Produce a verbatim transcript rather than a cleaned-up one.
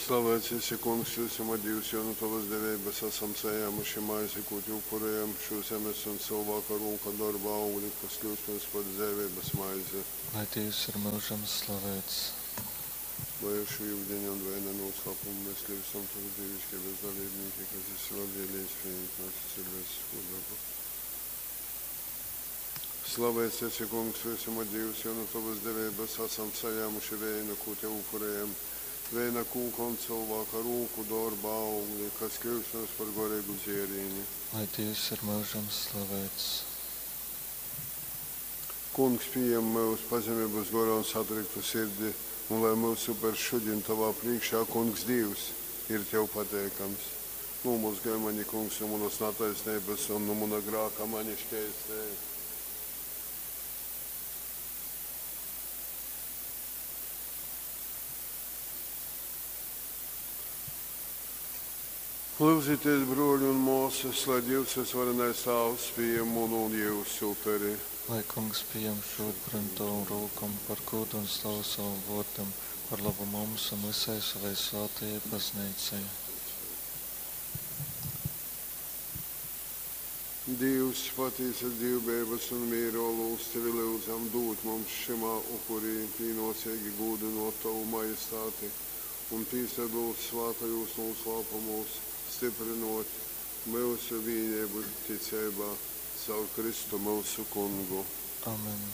Slavēts esi, Kungs, vysuma Dīvs, jo nu tovas deveibas asam sajāmuši maizi, kū tev upurējam, šū zemes un cylvāka rūku dorba augli, kas kļyust mums par dzeiveibas maizi. Lai Dīvs ir myužam slaveits. Lai ar šū yudiņa un veina nūslāpumu mēs kļūstam tavas dīviškeibas dalībnīki, kas esi labvēlīgs pījimt myusu cilvēcisko dabu. Slavēts esi, Kungs, vysuma Dīvs, jo nu tovas deveibas asam sajāmuši veinu, kū tev upurējam, veina kūka un cylvāka rūku dorba augli, kas kļyust mums par goreigu dzierīni. Lai Dīvs ir myužam slaveits. Kungs, pījem myus pazemeibas gorā un satriktu sirdi, un lai myusu upers šodien tovā priekšā, Kungs Dīvs, ir tev pateikams. Nūmozgoj mani, Kungs, nu manas nataisneibas un nu muna grāka mani škeistej. Lūdzieties, broļi un māsas, lai Dievs visvarenais Tāvs pieņem munu un jūsu uperi. Lai Kungs pieņem šo upuri no tavu rokām par godu un slavu savam vārdam, par labu mums un visai savai svētajai baznīcai. Dievs, patiesa dievbijības un miera olūts, tevi lūdzam dot mums šimā upurī pienācīgi gūdinot tavu majestāti un pīsadalot svētajos noslēpumos, stiprinot mūsu vienību ticībā caur Kristu mūsu kungu. Amen.